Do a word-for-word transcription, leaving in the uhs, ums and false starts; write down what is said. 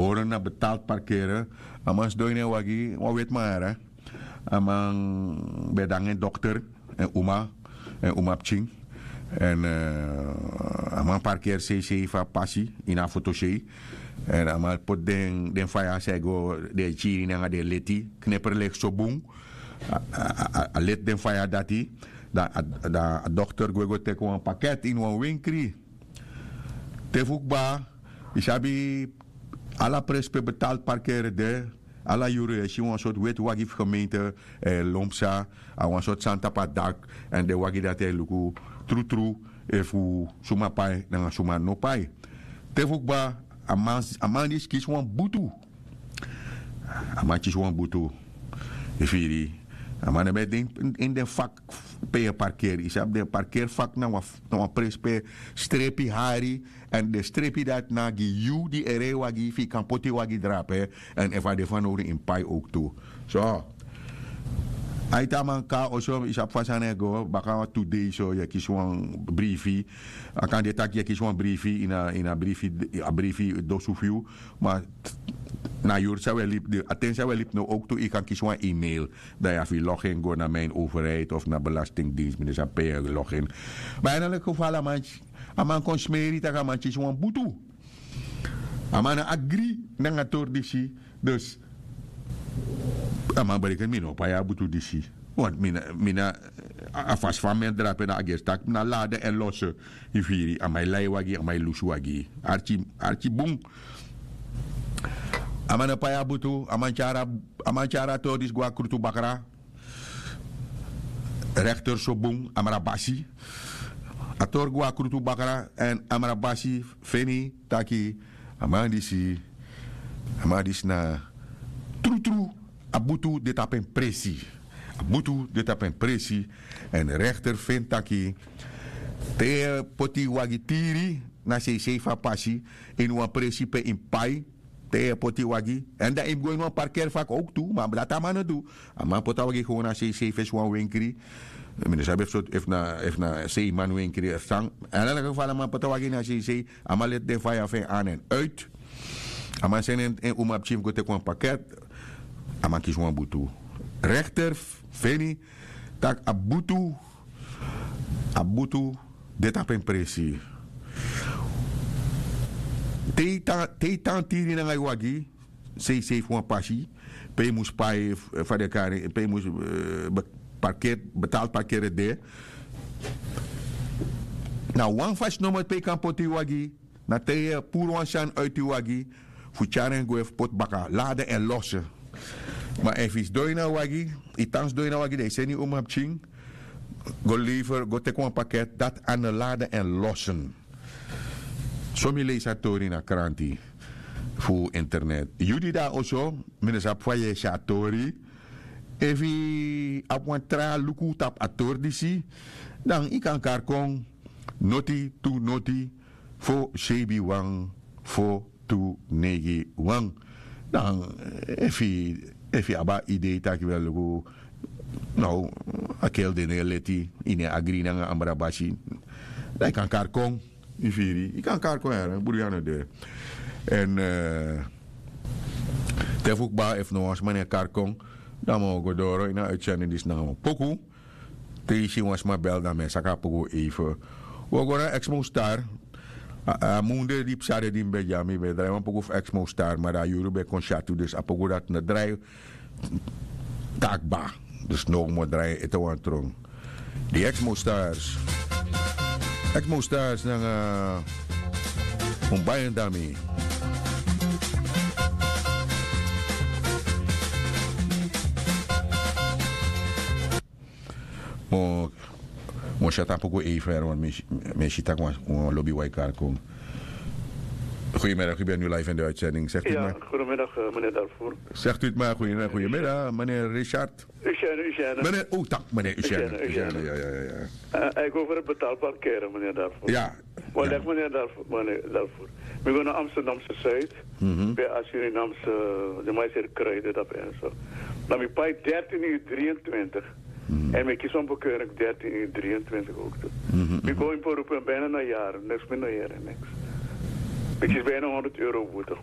Horen na betaald parkeren. A man sidon ini en wagi, wan weti man yara. A man ben de nanga en dokter, en uma, en uma pikin. Èn a man parkeri seisei fu a pasi ini a fotosei. Èn a man poti den faya san e go, den e kiri nanga den leti, kneperleki so bun. A leti den faya dati. Dan a dokter gwe go teki wan paket ini wan wenkri. Te fu kba, yu sabi, ala presi pe betaald parkeren de. Ala yuru yu e si wan sortu weti wagi fu gemeente e lon psa, a wan sortu sani tapu a dak. Èn den wagi dati e luku trutru efu suma pai nanga suma no pai. Te fu kba, a man disi kisi wan butu. A man kisi wan butu. Yu firi? A man no ben de ini den fak pe yu e parkeri. Yu sabi den parkeri fak na wan presi pe strepi hari. Èn den strepi dati na gi yu di e rei wagi fu yu kan poti yu wagi drape. Èn efu a de fanowdu yu mus pai owktu. So, a iti a man kon na oso, yu sabi fa sani e go. Baka tu dei so yu e kisi wan brifi. A kan de tak' yu e kisi wan brifi ini a brifi, a brifi dosu fu yu. Ma na yuru san wi e libi, a ten san wi e libi now owktu yu kan kisi wan email. Dan yu abi fu login go na mijn overheid of na belastingdienst, mi no sabi pe yu e login. Ma en elk geval a man kon smeri tak' a man kisi wan butu. A man no agri nanga a tori disi. Dus a man bereken mi no o pai a butu disi. Want mi na, a fasi fa mi e drape na a gesi tak' mi na lade èn lose. Yu firi? A man e lai wagi, a man e lusu wagi. Arki bun. A man no pai a butu. A man tyari a tori disi go na krutu bakra. Rekter so bun, amra basi. A tori go na krutu bakra èn amra basi feni taki a man disi, a man disi na trutru, a butu de tapu en presi. A butu de tapu en presi. Èn rekter feni taki te yu e poti wagi tiri na seisei fu a pasi ini wan presi pe yu mus pai te yu e poti wagi. Èn dan yu mus go ini wan parkeri fak owktu. Ma dati a man no du. A man poti a wagi gewoon na seisei fesi wan wenkri. Mi no sabi efu na seiman wenkri efu san. Èn dan leki fa a man poti a wagi na seisei, a man leti den faya fu en an èn uit. A man seni en uma pikin fu go teki wan paket. A man kisi wan butu. Rekter feni tak' a butu, a butu de tapu en presi. Te yu tan tiri nanga yu wagi seisei fu wan pasi pe yu mus pai, fa den kari, pe yu mus parkeri, betaald parkeren de. Na wan fasi nomo pe yu kan poti yu wagi. Na te yu e puru wan sani uiti yu wagi fu tyari en gwe fu poti baka lade èn lose. Ma efu yu sidon ini a wagi, yu tan sidon ini a wagi dan yu seni yu umapikin go lever, go teki wan paket dati a no lade èn losen. So mi leisi a tori na kranti fu internet. Yu di de na oso, mi no sabi fa yu e si a tori. Efu yu abi wan tra luku tapu a tori disi, dan yu kan kari kon noti tu noti fo seibi wan fo tu neigi wan. Dan efu yu abi a idei taki wi e luku, now a kel de no e leti, yu no e agri nanga ambra basi, dan yu kan kari kon. Yu firi, yu kan kari kon yara buru yu a no de. Èn te fu kba efu no wan sma no e kari kon, dan mi o go doro ini a uitsendi disi nanga wan poku. Te yu si wan sma bel dan mi e saka a poku eife. Wi o go na exmo star. A munde di psa de di mi ben dya mi ben drai wan poku fu exmo star ma dan a yuru ben kon syatu dus a poku dati no drai. Takba. Dus no mi o drai ete wan tron. Di exmo stars. Exmo stars nanga un bayen dami. Mo mo satan poku eifer want mi si taki wan lobi waikar kon. Goedemiddag u bent nu live in de uitzending zegt u maar. Goedemiddag meneer Darvoer. Zegt u het maar goedemiddag meneer Richard. Meneer o tak meneer Usiana. Usiana ya ya ya. Ik over het betaalparkeren meneer Darvoer. Ja. Maar leg meneer Darvoer meneer Darvoer. Mi go na Amsterdamse Zuid. Bij a Surinaamse de mais er kruiden dat en zo. Dan mi pai dertien uur drieëntwintig. En mi kies van bekeuring dertien uur drieëntwintig ook toe. Mi go in beroep en bijna na jaren niks meer na jaren niks. Mi kies bijna honderd euro boete.